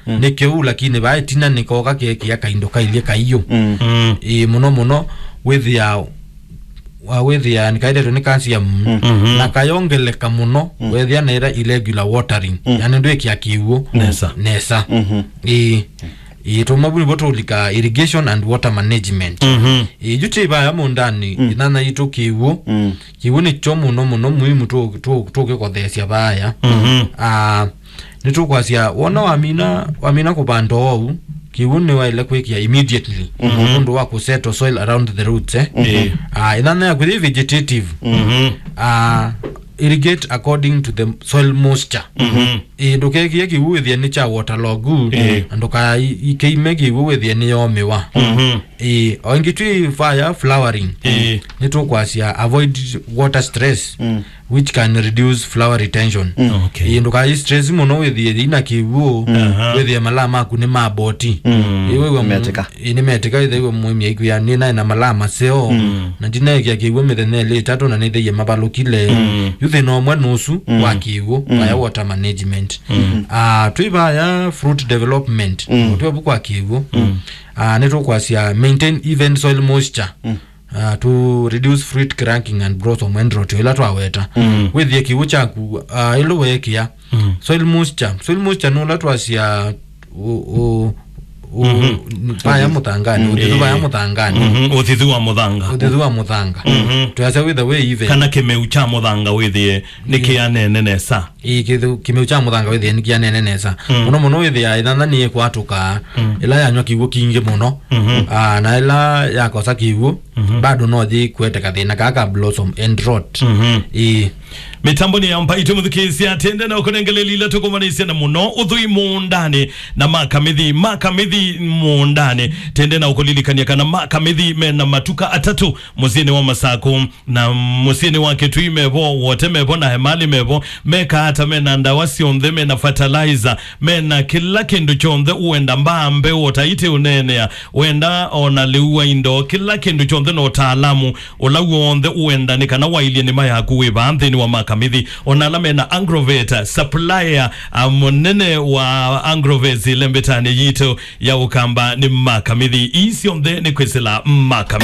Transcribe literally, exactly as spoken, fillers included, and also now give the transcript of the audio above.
Mm. Nĩ kĩu, lakini vaa ĩtina nĩkoka kekĩa kaindo kailyĩ kaiũ. Mm. Mm. Ĩĩ, mũno mũno wĩthĩa, wa wĩthĩa nĩkaetetwe nĩ calcium, mm, mhm, na kayongeleka mũno, mm, wethĩa na ĩla irregular watering. Mm. Yani ndwĩkĩa kĩw'ũ nesa. Nesa. Mhm. Ĩĩ. Ĩĩ, tũmwe vu nĩvo tũlika irrigation and water management. Mhm. Ĩĩ, yu twĩ vaya mũũndanĩ, mm, ĩnana yitũ kĩw'ũ. Mm. Kĩw'ũ nĩkyo mũno mũno muhimu tũ-, tũ-, tũkĩkotheesya vaya. Mhm. Ah, nĩtũkwasya, wona wamina, wamina kũvanda oou, kĩw'ũ nĩwaĩle kwĩkĩa immediately, mhm, nũndũ wa kũsettle soil around the roots, eh? Mhm. Ĩĩ. Ah, ĩnana yaku yĩ vegetative. Mhm. Ah, irrigate according to the soil moisture. Mhm. Ĩĩ, ndũkekĩe kĩw'ũ wĩthĩe nĩ kya waterlogged, ĩĩ, na ndũkaikeime kĩw'ũ wĩthĩe nĩ yomĩwa. Mhm. Ĩĩ, o ĩngĩ twĩ vaya flowering. Ĩĩ. Nĩtũkwasya avoid water stress, mm, which can reduce flower retention. Mm. Okay. Ĩĩ, ndũkai stress mũno wĩthĩe yĩna kĩw'ũ, aha, wĩthĩe malaa maku nĩ maboti. Mm. Ĩĩ, wĩw'a mu-, metĩka. Ĩĩ, nĩmetĩka, ĩthĩwa mũĩmi aikwĩa nĩ naĩ na malaa maseo, mm, na ndinaekĩa kĩw'ũ mĩthenya ĩlĩ ĩtatũ na nĩthĩie mavalũkile. Mm. Yu thĩna ũmwe nũsu, mm, wa kĩw'ũ, mm, vaya water management. Mm. Ah, twĩ vaya fruit development, mm, ũtwĩ vu kwa kĩw'ũ. Mm. Ah, nĩtũkwasya maintain even soil moisture. Mm. Ah, to reduce fruit cracking and blossom end rot, ĩla twaweta. Mm. Wĩthĩe kĩw'ũ kyaku, ah, ĩlũ weekĩa. Mm. Soil moisture. Soil moisture nĩ ũla twasya ũ-, ũ-, ũ-, mhm, vaya mũthanganĩ, mm, ũthithu vaya, ĩĩ, mũthanganĩ. Mhm, ũthithu wa mũthanga. Ũthithu wa mũthanga. Mhm. Twasya wĩthe wĩ even. Kana kĩmeu kya mũthanga wĩthĩe nĩ, ĩĩ, kĩanene nesa. Ĩĩ, kĩthu-, kĩmeu kya mũthanga wĩthĩe nĩ kĩanene nesa. Mm. Mũno mũno wĩthĩa ĩnana nĩ ĩkwatũka, mm, ĩla yanywa kĩw'ũ kingĩ mũno. Mhm. Ah, na ĩla yakosa kĩw'ũ, mhm, bado no yĩkwete kathĩna kaa ka blossom end rot. Mhm. Ĩĩ. Mĩtambonĩ ya mbaitũ mũthukĩĩsya, tende na ũkũnengeleli ila tũkũmanĩsya na mũno ũthũi mũũndanĩ na makamithi, makamithi mũũndanĩ. Tende na ũkũlilikany'a kana makamithi mena matuka atatũ mũsyĩnĩ wa Masakũ, na mũsyĩnĩ wa Kĩtui mevo, Wote mevo, na Emali mevo. Meka ata? Mena ndawa syonthe, mena fertilizer, mena kĩla kĩndũ kyonthe ũenda, mbaa, mbeũ, o ta itĩ ũneenea, wenda ona lĩu wa indo, kĩla kĩndũ kyonthe na ũtaalamu ũla w'onthe ũenda nĩ kana wailye nĩma yaku wĩ vaa nthĩnĩ wa makamithi. Ona ala mena Agrovet, supplier, a, mũnene wa Agrovet ĩlembetanĩ yitũ ya Ũkamba nĩ makamithi. Ii syonthe nĩ kwĩsĩla makamithi.